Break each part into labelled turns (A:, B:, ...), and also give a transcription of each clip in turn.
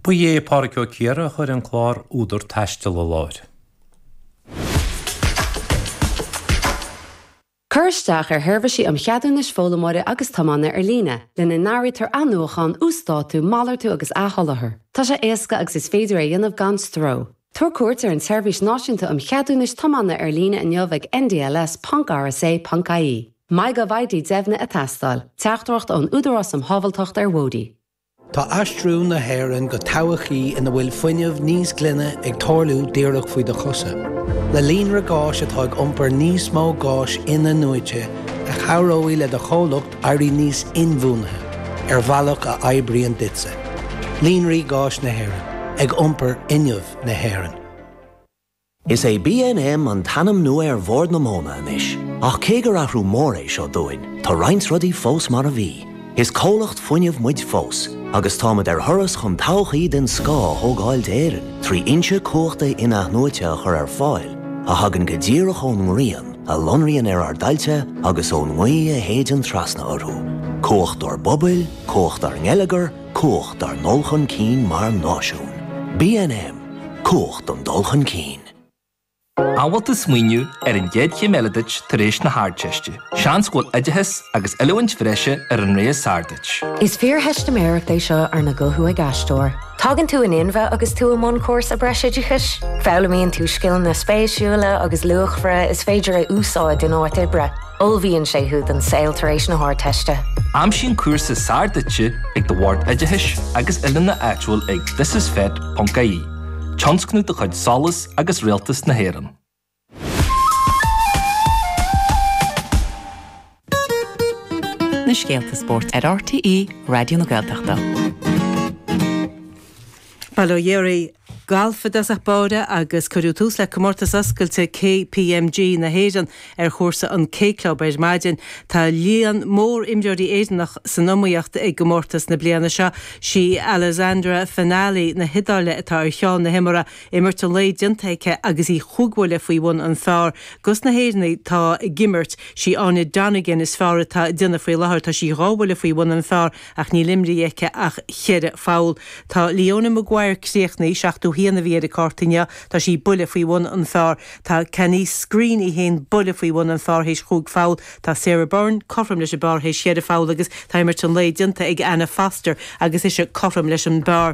A: Ba é Pádraig Ó Ciardha a chuir an clár Údar Taistil i láthair.
B: Cuir isteach ar sheirbhísí um cheadúnais foghlaimeora agus tiomána ar líne, lena n-áirítear athnuachan, uasdátú, malartú agus athsholáthar. Tá sé éasca agus is féidir é a dhéanamh gan stró. Tabhair cuairt ar an tSeirbhís Náisiúnta um Cheadúnais Tiomána ar líne inniu ag ndls.rsa.ie. MyGovID deimhnithe ag teastáil. Teachtaireacht ón Údarás um Shábháilteacht ar Bhóithre.
C: Tá aistriú na hÉireann go todhchaí ina bhfuil fuinneamh níos glaine ag tarlú díreach faoi do chosa. Le líonra gáis atá ag iompar níos mó gáis in-athnuaite a chabhróidh le do chomhlacht éirí níos inbhuanaithe, ar bhealach a oibríonn duitse. Líonraí Gáis na hÉireann, ag iompar fhuinneamh na hÉireann.
D: Is é BNM an t-ainm nua ar Bhord na Móna anois, ach cé gur athrú mór é seo dúinn, tá roinnt rudaí fós mar a bhí. Is comhlacht fuinnimh muid fós, agus táimid ar thuras chun todhchaí den scoth a thógáil d'Éirinn trí fhoinse cumhachta in-athnuaite a chur ar fáil a thagann go díreach ón ngrian a lonraíonn ar ár dtailte agus ón ngaoth a shéideann trasna orthu. Cumhacht dár bpobail, cumhacht dár ngeilleagar, cumhacht dár ndul chun cinn mar náisiún. BNM. Cumhacht don dul chun cinn.
E: An bhfuil tú ag smaoineamh ar an gcéad chéim eile duit tar éis na hArdteiste? Seans go bhfuil oideachas agus oiliúint bhreise ar an rogha is fearr duit.
F: Is fíortheistiméireacht é seo arna guthú ag aisteoir. Tagann tú in inmhe agus tú i mbun cúrsa breisoideachais. Foghlaimíonn tú scileanna spéisiúla agus luachmhara is féidir a úsáid in áit oibre. Ullmhaíonn sé thú don saol tar éis na hArdteiste.
E: Aimsigh an cúrsa is fearr duitse ag do Bhord Oideachais agus Oiliúna áitiúil ag thisisfet.ie, tionscnamh de chuid SOLAS agus Rialtas na hÉireann.
G: Na scéalta spóirt ar RTÉ Raidió na Gaeltachta.
H: Bail ó Dhia oraibh. Galf i dtosach báire agus cuireadh tús le Comórtas Oscailte KPMG na hÉireann ar chúrsa an K Club ar maidin. Tá líon mór imreoirí Éireannach san iomaíocht i gcomórtas na bliana seo. Sí Alessandra Fanali na hIodáile atá ar cheann na himeartha. Imirt an lae déanta aici agus í chúig bhuille faoi bhun an phar. Dos na hÉireannaigh atá ag imirt, sí Áine Donegan is fearr atá ag déanamh faoi láthair. Tá sí dhá bhuille faoi bhun an phar ach níl imrithe aici ach cheithre pholl. Tá Leona Maguire críochnaithe, 71 a bhí ar a cárta inniu, tá sí buille faoi bhun an phar. Tá Canice Screen í féin buille faoi bhun an phar théis chúig pholl. Tá Sarah Byrne cothrom leis an bpar théis cheithre pholl agus tá imirt an lae déanta ag Anna Foster agus ise cothrom leis an bpar.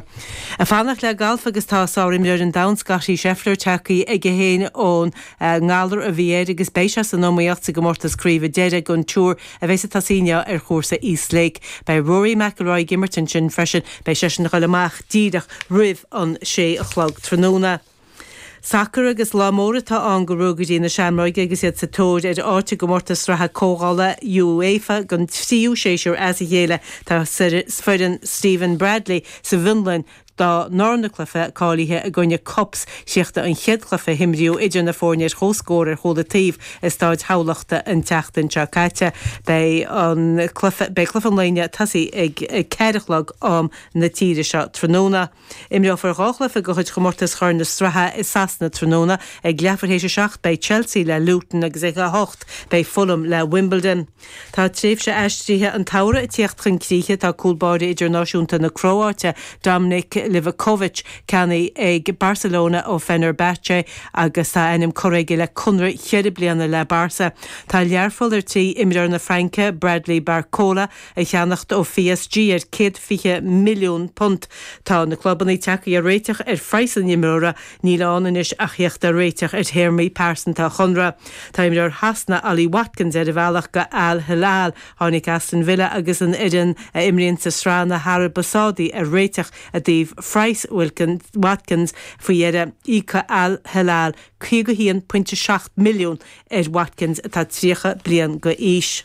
H: Ag fanacht le galf agus tá sár-imreoir an domhain Scottie Scheffler tagtha chuige féin ón ngalar a bhí air agus beidh sé san iomaíocht sa gcomórtas craoibhe deiridh don Tour a bheas ag tosaí inniu ar chúrsa East Lake. Beidh Rory McIlroy ag imirt ansin freisin. Beidh seisean ag dul amach díreach roimh an sé a chlog tráthnóna. Sacar agus lá mór atá ann do Ruagairí na Seamróige agus iad sa tóir ar áit i gcomórtas sraithe comhdhála UEFA don tríú séasúr as a chéile. Tá foireann Stephen Bradley sa bhFionlainn dá ndarna cluiche cáilithe i gcoinne KuPS. Chríochnaigh an chéad chluiche a himríodh idir na foirne ar comhscór ar chúl an taobh i Staid Thamhlachta an tseachtain seo caite. Beidh an cluiche beidh cluiche an lae inniu ag tosaí ag 4 a chlog am na tíre seo tráthnóna. Imreofar dhá chluiche de chuid chomórtas Chorn na Sraithe i Sasana tráthnóna. Ag leathuair théis a seacht beidh Chelsea le Luton agus ag a hocht beidh Fulham le Wimbledon. Tá tréimhse aistrithe an tsamhraidh ag tíocht chun críche. Tá cúl báire idirnáisiúnta na Cróáite, Dominik Livakovic, ceannaithe ag Barcelona ó Fenerbahce agus tá a ainm curtha aige le conradh cheithre bliana le Barca. Tá Learpholl ar tí imreoir na Fraince, Bradley Barcola, a cheannacht ó PSG ar £120 milliún. Tá na clubanna tagtha ar réiteach ar phraghas an imreora, Níl ann anois ach theacht ar réiteach ar théarmaí pearsanta a chonradh. Tá imreoir Shasana, Ollie Watkins, ar a bhealach go Al Hilal. Tháinig Aston Villa agus an fhoireann a imríonn sa sraith na hAraibe Sádaí ar réiteach i dtaobh phraghas Watkins faoi dheireadh. Íocfaidh Al Hilal €51.7 milliún ar Watkins atá 30 bliain d'aois.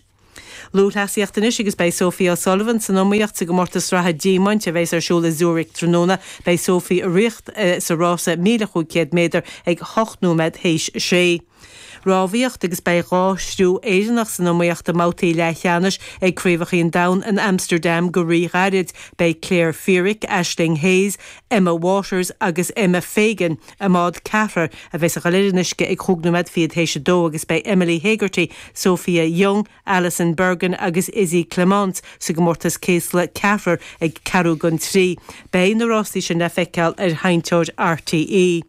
H: Lúthchleasaíocht anois agus beidh Sophie O'Sullivan san iomaíocht sa gcomórtas sraithe Diamaint a bheas ar siúl i Zurich tráthnóna. Beidh Sophie ag rith sa rása 1,500 méadar ag 8 nóiméad théis a sé. Rámhaíocht agus beidh 2 thriú Éireannach san iomaíocht i mbabhtaí leathcheannais ag Craobhacha an Domhain in Amsterdam go rí-ghairid. Beidh Claire Feerick, Aisling Hayes, Emma Waters agus Emma Fagan i mbád ceathrair a bheas ag dul ar an uisce ag chúig nóiméad fichead théis a dó agus beidh Emily Hegarty, Sophia Young, Alison Bergin agus Izzy Clements sa gcomórtas céasla ceathrair ag ceathrú don trí. Beidh na rásaí sin le feiceáil ar Sheinnteoir RTÉ.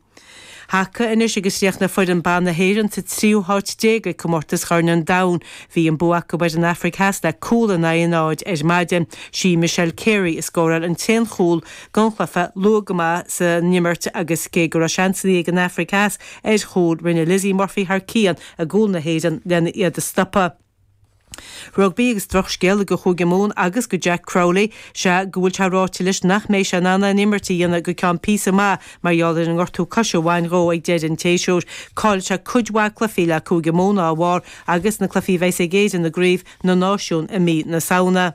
H: Haca anois agus chríochnaigh foireann ban na hÉireann sa tríú háit déag ag comórtas Chorn an Domhain. Bhí an bua acu ar an Afraic Theas le cúl in aghaidh a náid ar maidin. Sí Michelle Carey a scóráil an t-aon chúl don chluiche luath go maith san imirt agus cé go raibh seansanna ag an Afraic Theas ar chúil, rinne Lizzie Murphy thar cionn i gcúl na hÉireann lena iad a stopadh. Rugbaí agus drochscéala do Chúige Mumhan agus do Jack Crowley, sea go bhfuil sé ráite leis nach mbeidh sé in ann aon imirt a dhéanamh go ceann píosa maith mar gheall ar an ngortú coise a bhain dhó ag deireadh an tséasúir. Caillfidh sé cuid mhaith cluichí le Cúige Mumhan dá bharr agus na cluichí a bheas ag Éirinn i gCraobh na Náisiún i mí na Samhna.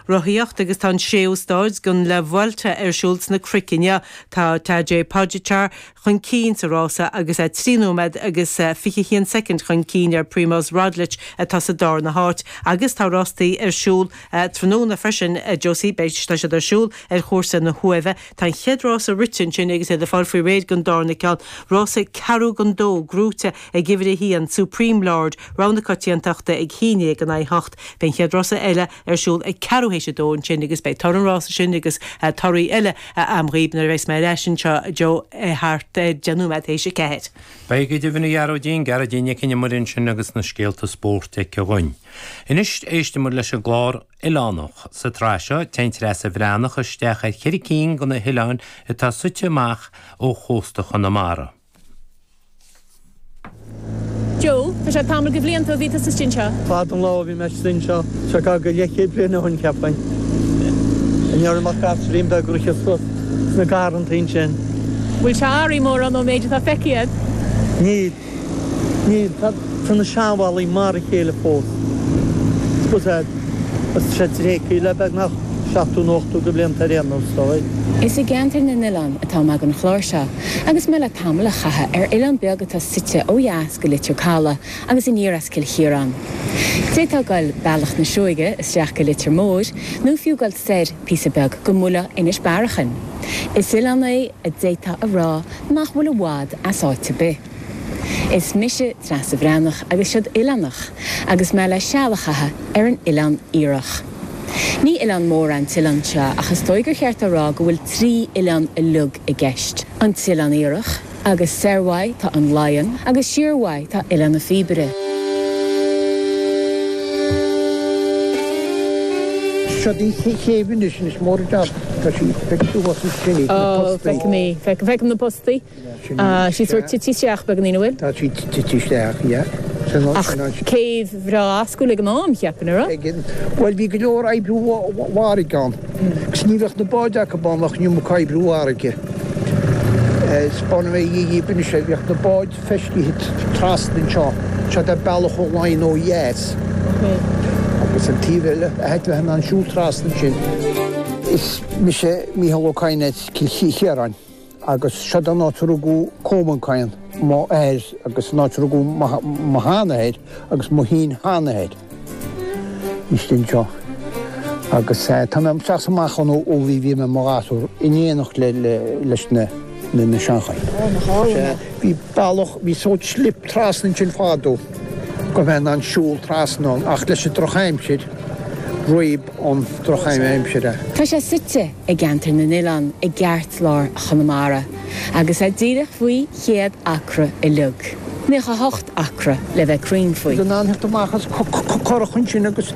H: Rothaíocht agus tá an séú stáid den La Vuelta ar siúl sna cnoic inniu. Tá Tadej Pogacar chun cinn sa rása agus é 3 nóiméad agus 21 soicind chun cinn ar Primoz Roglic atá sa darna háit. Agus tá rástaí ar siúl tráthnóna freisin, Josie, beidh tá siad ar siúl ar chúrsa na hUaimhe. Tá an chéad rása rite ansin agus iad ag fáil faoi réir don darna ceann. Rása ceathrú don dó gnóite ag uimhir a haon, Supreme Lord, Rogha na Coitiantachta ag haon déag in aghaidh a hocht. Beidh an chéad rása eile ar siúl ag ceathrú théis a dó ansin agus beidh toradh an rása sin agus torthaí eile a'm dhaoib nuair a bheas mé ar ais anseo, Joe, thart ar deich nóiméad théis a ceathair.
A: Beidh go deimhin, a Ghearóidín, Gearóidín Nic an Iomaire ansin agus na scéalta spóirt aici dhúinn. Anois éistfidh muid leis an gclár Oileánach. Sa tsraith seo, téann Treasa Bhreathnach isteach ar cheithre cinn de na hoileáin atá suite amach ó chósta Chonamara.
I: Joe, Tá sé tamall de bhlianta ó bhí tusa istigh anseo.
J: Fada an lá ó bhí mé istigh anseo. Seo gar go leathchéad bliain ó shin, cheapfainn. Aniar amach gasúirín beag ag rith suas sna garrantaí ansin.
I: Bhfuil sé athraithe mórán ón méid atá feicthe agat?
J: Níl. Níl. Tá na seanbhallaí mar a chéile fós. Suppose tá sé tréigthe le beagnach 70 nó 80 de bhlianta ar aon nós, is dóigh.
K: Is i gceantar na n-oileán atá mé don chlár seo agus mé le tamall a chaitheamh ar oileán beag atá suite ó dheas go Leitir Calaidh agus aniar as Cill Chiaráin. D'fhéadfá goil bealach na Sióige isteach go Leitir Móir nó fiú goil soir píosa beag go mbuailfeá Inis Bearachain. Is oileán é a d'fhéadfá a rá nach bhfuil i bhfad as áit ar bith. Is mise Treasa Bhreathnach agus seod Oileánach agus mé le seal a chaitheamh ar an Oileán Iarthach. Ní oileán mór é an t-oileán seo ach is dóigh gur cheart a rá go bhfuil trí oileán uilig i gceist, an tOileán Iarthach, agus soir uaidh tá an Laighean agus siar uaidh tá Oileán na Píobaire.
J: Seo í an chéibh anois, anois mór an jab, tá sí feicthe thuas ansin í, na postaí.
I: Ó, feicim í, feicim na postaí. Tá sí sórt tite isteach beagáinín, an bhfuil?
J: Tá sí tite isteach, yeah.
I: Ach céibh bhreá fháscúil ag an am, cheapfainn, an raibh?
J: Bhuel, bhí go leor oibriú farraige ann. Agus ní bheadh na báid acu ann ach an iomarca oibriú farraige. 'Spáinfidh mé dhíbh anois é, bhíodh na báid feistithe trasna anseo, seo é bealach ó Laighean ó dheas. Agus an taobh eile, a bheith in ann siúl trasna ansin. Is mise Mícheál Ó Cadhain as Cill Chiaráin. Agus seod an áit a rugadh Colmán Cadhain, mo athair, agus an áit a rugadh mo sheanathair agus mo shin-sheanathair istigh anseo. Agus tá mé isteach is amach ann ó bhí bhí mé i mo ghasúr in éineacht le leis na na seanchaí. Bhí bealach, bhí sórt slip trasna ansin fadó go mbeifeá in ann siúl trasna ann ach leis an drochaimsir, réab an drochaimsir é.
K: Tá sé suite i gCeantar na nOileán i gceartlár Chonamara agus é díreach faoi chéad acra uilig, 98 acra le bheith cruinn faoi.
J: In ann theacht amach as curach ansin agus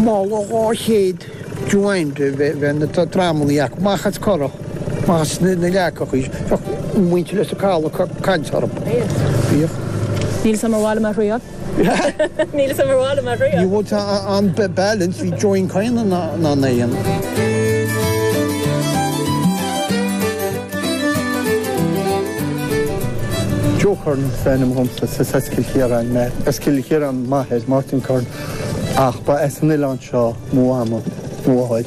J: mála 200 joint a bheith na dramannaí acu amach as curach, amach as na leacachaí, bheadh muintir Leitir Caladh ag caint orthu. Bhíodh.
I: Níl 'fhios a'm ar mhaith liom a thriail. Níl 'fhios a'm ar mhaith liom a thriail.
J: Ní bhfuil an balance, bhí Joan Coyne in ann é a dhéanamh.
L: Joe Curran is ainm dhomsa, is as Cill Chiaráin mé. As Cill Chiaráin m'athair, Martin Curran, ach ba as an oileán seo mo mhama, mo mháthair.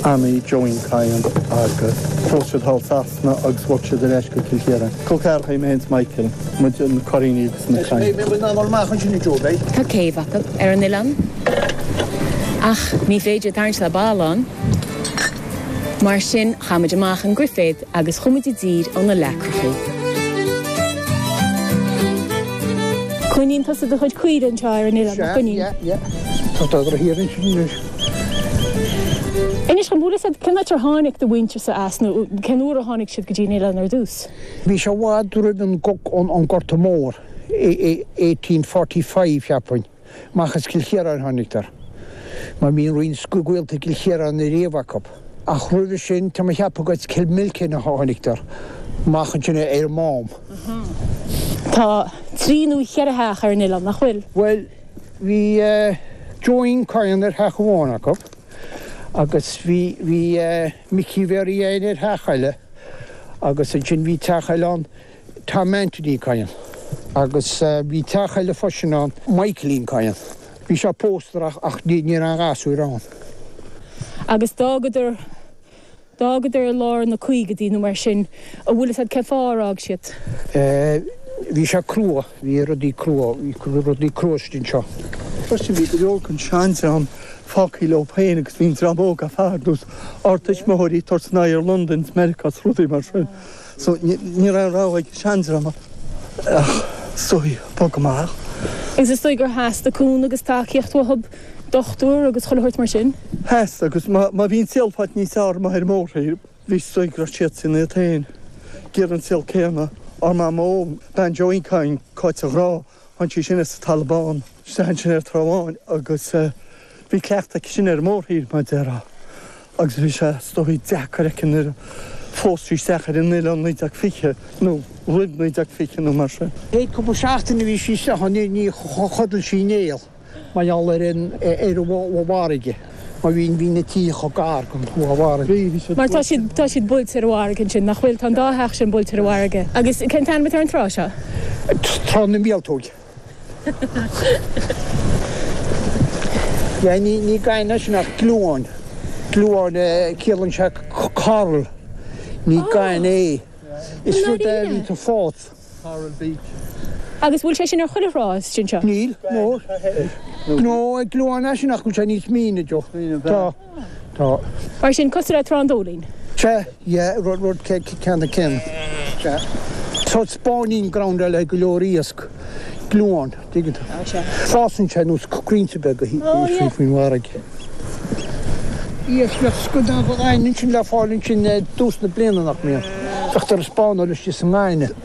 L: Annie Joeín Kyne agus phós siad thall Sasana agus bhog siad ar ais go Cill Chiaráin. Col ceathracha é mé féin 's Michael, muid na Curraoiní agus na Kynes.
K: Tá céibh acu ar an oileán ach ní féidir tarraingt le balla ann. Mar sin chaith muid amach an griféad agus chuaigh muid i dtír ó na leacrachaí. Coinníonn tusa do chuid caoire anseo ar an oileán, nach gcoinníonn?
J: Sea, yeah, yeah. Tá dodra thiar ansin anois.
I: Inis dhom, bhfuil fhios agat cén áit ar tháinig do mhuintirse as nó cén uair a tháinig siad go dtí an oileán ar dtús?
J: Bhí sé i bhfad roimh an Gorta Mór, 1845 cheapfainn. Amach as Cill Chiaráin tháinigtear, mar bhí roinnt gaolta i gCill Chiaráin ariamh acu. Ach roimhe sin, tá mé a cheapadh gur as Cill Mhilcin a tháinigtear, amach ansin ar an Mám.
I: Tá trí nó cheithre theach ar an oileán, nach bhfuil?
J: Bhuel, bhí Joeín Kyne ar theach amháin acu, agus bhí, bhí Micí Mhéaraí Ann ar theach eile, agus ansin bhí teach eile ann, Tom Anthony Kyne. Agus bhí teach eile freisin ann, Michaeline Kyne. Bhí sé pósta ach ní raibh aon ghasúir ann.
I: Agus d'fhágadar, d'fhágadar i lár na caogaidí nó mar sin, an bhfuil fhios agat cén fáth ar fhág siad?
J: Bhí sé crua, bhí rudaí crua, bhí rudaí crua istigh anseo.
L: Freisin bhí go leor den seandream fágtha leo féin agus bhí an dream óg ar fad, nós ár dtuismitheoirí, ag tabhairt a n-aghaidh ar Londain is Meiriceá is rudaí mar sin. So ní raibh aon rogha ag an seandream ach is dóigh bogadh amach.
I: Agus is dóigh gur theastaigh cúnamh agus tacaíocht uathu, dochtúir agus chuile shórt mar sin?
L: Theastaigh agus má bhí an saol faighte níos fearr amuigh ar an mórthír, bhí is dóigh go raibh siadsan iad féin ag iarraidh an saol céanna. Ár mamó, bean Joeín Kyne, Cáit a' Ghrá, Tháinig sí sin as an Talamh Bán isteach ansin ar Trá Bháin agus bhí cleachtadh aici sin ar an mórthír, mar a déarfá, agus bhí sé is dóigh deacair aici nuair a phós sí isteach ar an oileán 1920 nó roimh 1920 nó mar sin.
J: Chéad cúpla seachtain a bhí sí isteach ann ní chodail sí néal. Mar gheall ar an ar an bhfarraige, mar bhí bhí na tithe chomh gar don bhfarraige.
I: Mar tá siad tá siad buailte ar an bhfarraige ansin, nach bhfuil? Tá an dá theach sin buailte ar an bhfarraige. Agus cén t-ainm atá ar an trá seo?
J: Trá na Míoltóige. Yeah, ní ní gaineamh é sin ach gliúán. Gliúán, ciallaíonn sé coral. Ní gaineamh é. Is rud é a bhíonn ag fás.
L: Coral Beach.
I: Agus bhfuil sé sin ar chuile thrá istigh anseo?
J: Níl, no. No, gliúán é sin ach bhfuil sé níos míne, Joe. Tá, tá.
I: Mar sin, cosúil le Trá an Dóilín?
J: Sea, yeah, rud, rud ceann céanna. Sea. Tá spawning ground eile ag go leor iasc, gliúán, dtuigeann tú. Fásann sé nós crainnte beaga faoin bhfarraige. Iasc, bheadh scadán gaineamh ansin le fáil ansin i dtús na bliana, nach mbíonn? Bheadh tar ag spawnáil istigh sa ngaineamh.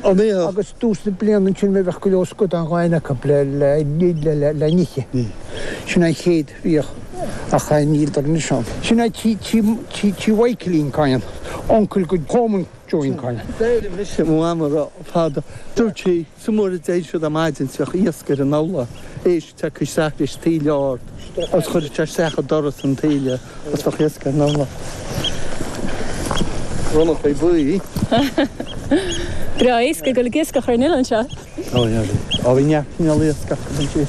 J: Agus dtús na bliana ansin bheadh go leor scadán gaineamh acu le n-ithe. Sin an chéad bhíodh ach níl dar anois ann. Sin é tí Mhichaelín Kyne, uncail go Coleman Joeín Kyne.
L: D'éirigh mise mo mham a rá fada. Dúirt sí, Sa uair a d'éirigh siad ar maidin is bheadh iasc ar an urlár, éisc tagtha isteach leis taoille ard agus chuireadh sé isteach an doras an taoille agus bheadh iasc ar an urlár. Ronnachaí buí.
I: Breá éasca ag dul ag iascach ar an oileán seo.
L: Ó yeah bhí. Ó bhí neart cineál iasc acu ansin.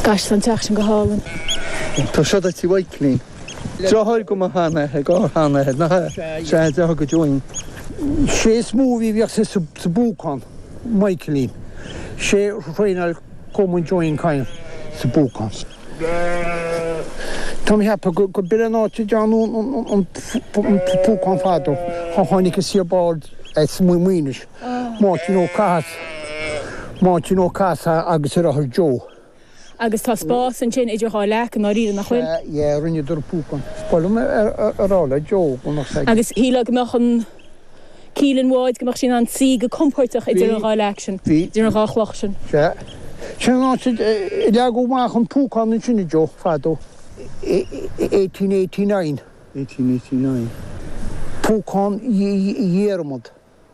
I: Gosh tá an teach sin go hálainn.
L: Tá seo do tí Mhichaelín. Deartháir go mo sheanathair, ár sheanathair, nach ea? Sea, deartháir go Joeín.
J: Sé is mó a bhí, bhíodh sé sa bPúcán, Michaelín. Sé thraenáil Coleman Joeín Kyne sa bPúcán. Tá mé ag ceapadh go b'in an áit a dtearnadh an Púcán fadó. Tháinig an Seaboard as Maínis, Máirtín Ó Cathasaigh, Máirtín Ó Cathasaigh agus a dheartháir Joe.
I: Agus tá spás ansin idir dhá leac i ndáiríre, nach bhfuil?
J: Sea, yeah, rinneadar púcán. Ba mhaith liom a rá le Joe go mbeadh sé.
I: Agus shílfeá go mbeadh an cíl an bháid, go mbeadh sí in ann suí go compóirteach idir an dhá leac sin, idir an dhá chloch sin.
J: Sea. Sin an áit a leagadh amach an púcán ansin, a Joe, fadó. 1889.
L: 1889.
J: Púcán Dhiarmad.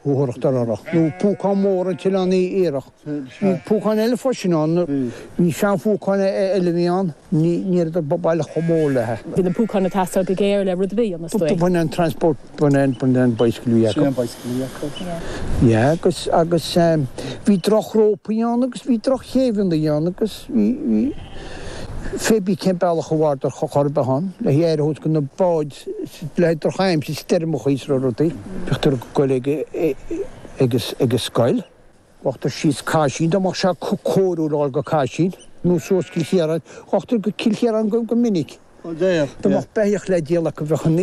J: Uachtarach Dororach, nó Púcán Mór an tOileán Iartharach. Bhí púcán eile freisin ann, bhí seanphúcán eile a bhí ann, ní rabhadar baileach chomh mór léi.
I: Bhí na púcáin ag teastáil go géar le rud ar bith a dhéanamh, is dóigh.
J: B'in an transport, b'in an, b'in an bicycle a bhí acu.
L: Sin an bicycle a bhí acu.
J: Yeah, agus, agus bhí drochrópaí ann agus bhí drochchéibheanna ann agus bhí, bhí. Fé bith cén bealach a bhfuaradar chor ar bith ann, le aire a thabhairt do na báid le drochaimsir, stoirmeacha is rudaí. Bhíodar ag goil ag ag an scoil. Ghabhadar síos Caisín, dá mbeadh sé cóiriúil a dhul go Caisín, nó suas Cill Chiaráin. Ghabhadar go Cill Chiaráin go minic. Dá mbeadh beithíoch le díol acu bheadh an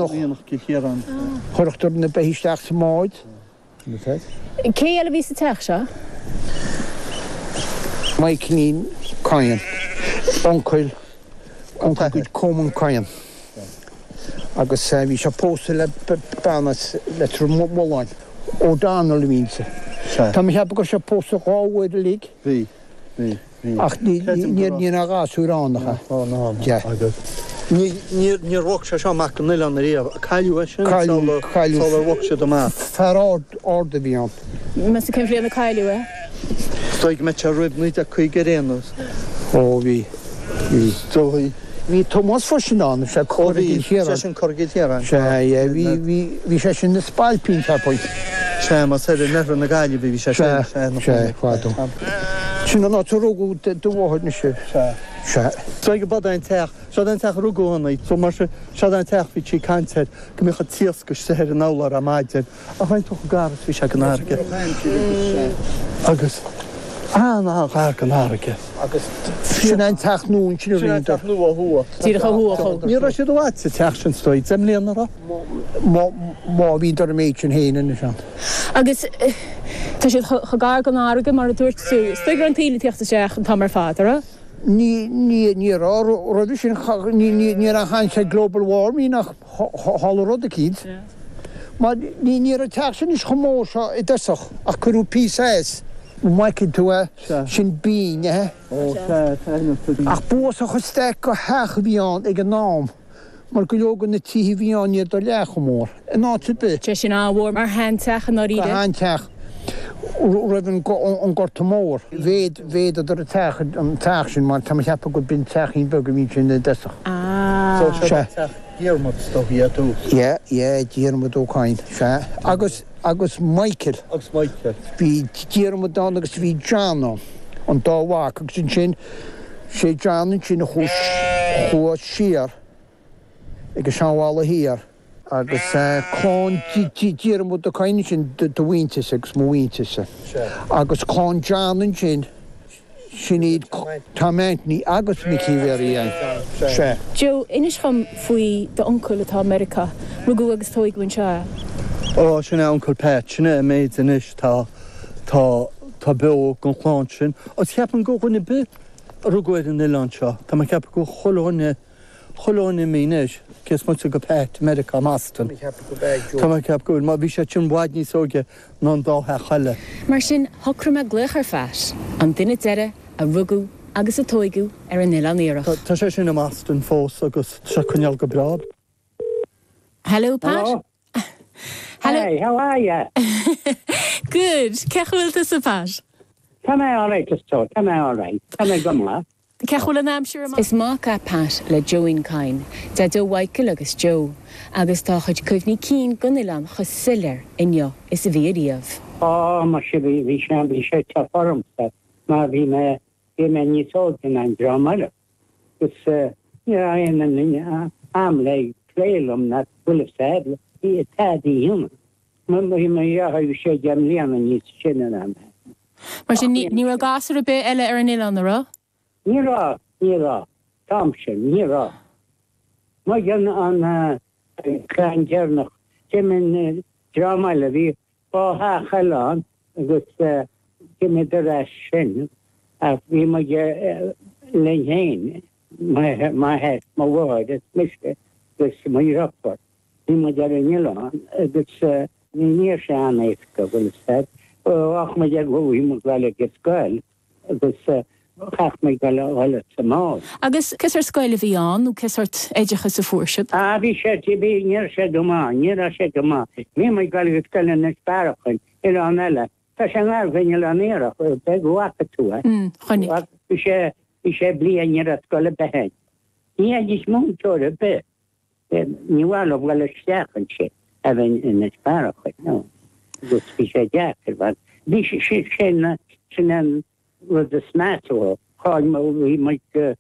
J: aonach. Chuirfeadar na beithígh isteach sa mbád.
I: Cé eile a bhí sa teach seo?
J: Michaelín Kyne, uncail, uncail Coman Kyne. Agus bhí sé pósta le bean as Leitir Mealláin, O'Donnell a bhí inti. Tá mé ag ceapadh go raibh sé pósta dhá uair uilig.
L: Bhí, bhí.
J: Ach ní raibh gasúir ann, ach ea?
L: Níor bhog sé seo amach gon oileán ariamh. Cailleadh é sin sular bhog siad amach.
J: Fear ard a bhí ann.
I: Meas tú cén bhliain a cailleadh é?
L: Is dóigh go mbeidh sé roimh 1950 ar aon nós.
J: Ó bhí, bhí.
L: Is dóigh.
J: Bhí Tomás freisin ann, sé
L: Cora gCill Chiaráin. Sé sin Cora gCill Chiaráin.
J: Sea, yeah, bhí, bhí, bhí sé sin ina spailpín, cheapfainn.
L: Sea, más ar an oirthear na Gaillimhe a bhí sé sin.
J: Sea, sea, fadó. Sin an áit a rugadh do mháthair mise.
L: Sea.
J: Sea.
L: Is dóigh go b'é an teach, seod é an teach a rugadh ann í, so mar sin, seod é an teach bhí sí ag caint air, go mbíodh an t-iasc istigh ar an urlár ar maidin. Ach an tú chomh gar is bhí sé gon fharraige. Agus an-an-ghar gon fharraige.
J: Agus sin an teach nua ansin a
L: Sin an teach nua ó thuaidh.
I: Díreach ó thuaidh chomh.
L: Ní raibh siad i bhfad sa teach sin is dóigh, 10 mbliana, an raibh?
J: Má bhíodar an méid sin féin anois ann.
I: Agus tá siad chomh gar don fharraige mar a dúirt tú. Is dóigh go raibh an taoille ag tíocht isteach an t-am ar fad, an raibh?
J: Ní, ní, ní raibh. Roimhe sin, ní, ní, ní raibh aon chaint ar global warming ach tharla rud eicínt. Mar ní, ní raibh an teach sin anois chomh mór seo i dtosach ach cuireadh píosa as. An bhfeiceann tú é? Sin binn é. Ach b'uafásach an staic de theach a bhí ann ag an am mar go leor de na tithe a bhí ann ní rabhadar leath chomh mór in áit ar bith.
I: Sé sin an-mhór mar sheanteach i ndáiríre.
J: Sheanteach roimh an Gorta Mór. Mhéad, mhéadadar an teach, an teach sin mar tá mé ag ceapadh gur b'in teachín beag a bhí ansin i dtosach.
L: So seo
J: Sea.
L: teach Diarmuid is dóigh ar dtús.
J: Yeah, yeah, Diarmuid Ó Cadhain, sea. Agus, agus Michael.
L: Agus Michael.
J: Bhí Diarmuid ann agus bhí John ann, an dá mhac agus ansin, sé John ansin a chuaigh, chuaigh siar ag an Seanbhalla Thiar. Agus clann Diarmuid Ó Cadhain ansin do mhuintirse agus mo mhuintirse. Agus clann John ansin, sin iad Tom Anthony agus Micí Mhéaraí Ann. Sea.
I: Joe, inis dhom faoi d'uncail atá i Meiriceá. Rugadh agus tóigeadh anseo é.
L: Ó, sin é Uncail Pat, sin é an méid anois tá, tá, tá beo den chlann sin. Agus cheapfainn go dhuine ar bith a rugadh ar an oileán seo, tá mé ag ceapadh go chuile dhuine, Chuile dhuine imithe anois, cé is moite go Pat i Meiriceá, i mBoston. Tá mé ag ceapadh go bhfuil, mar bhí sé sin i bhfad níos óige ná an dá theach eile.
K: Mar sin, shocraigh mé glaoch ar Phat, an duine deiridh a rugadh agus a tóigeadh ar an Oileán Iarthach.
L: Tá sé sin i mBoston fós agus tá sé ag coinneáil go breá.
K: Hello, Pat.
M: Hello.
K: Hello.
M: Hey, how are you?
K: Good. Cén chaoi a bhfuil tusa, Pat?
M: Tá mé alright, is dóigh. Tá mé alright. Tá mé go maith.
I: Cén chaoi a bhfuil an aimsir amach?
K: Is mac é Pat le Joeín Kyne, Deaideo Mhichael agus Joe, agus tá a chuid cuimhní cinn den oileán chomh soiléir inniu is a bhí ariamh.
M: Á, muise, bhí, bhí sé, bhí sé tough ormsa mar bhí mé, bhí mé níos óige ná an dream eile agus ní raibh aon duine a'm le plé liom ná bhfuil fhios a'd, bhí tada a dhéanamh. Mo, mo dheartháir, bhí sé deich mbliana níos sine ná mé.
I: Mar sin, ní raibh gasúr ar bith eile ar an oileán, an raibh?
M: Ní raibh, ní raibh. T-am sin, ní raibh. Muid an, an clann deireanach. D'imigh an dream eile, bhí dhá theach eile ann agus d'imíodar as sin ach bhí muid linn féin, m'athair, mo mháthair is mise agus mo dheirfiúr. Bhí muid ar an oileán agus ní raibh sé an-éasca, bhfuil fhios a'd. Bheadh muid ag, bhí muid ag dul ag an scoil agus chaithfeadh muid dul a dhul sa mbád.
I: Agus cé sórt scoil a bhí ann nó cé sórt oideachas a fuair sibh?
M: Ah bhí sé, bhí, ní raibh sé go maith, ní raibh sé go maith. Bhí muid ag dul ag an scoil in Inis Bearachain, oileán eile. Tá sé i ngar don Oileán Iarthach, b'fhéidir go bhfaca tú é.
I: Mm, chonaic.
M: Bhí sé, bhí sé bliain, ní raibh scoil ar bith ann. Ní fhaighidís múinteoir ar bith. Ní mhaith leo dul isteach ansin, a bheith in Inis Bearachain, no. Agus bhí sé deacair, mar bhí sé, sin, sin an rud is measa. Cháil, bhí muid go.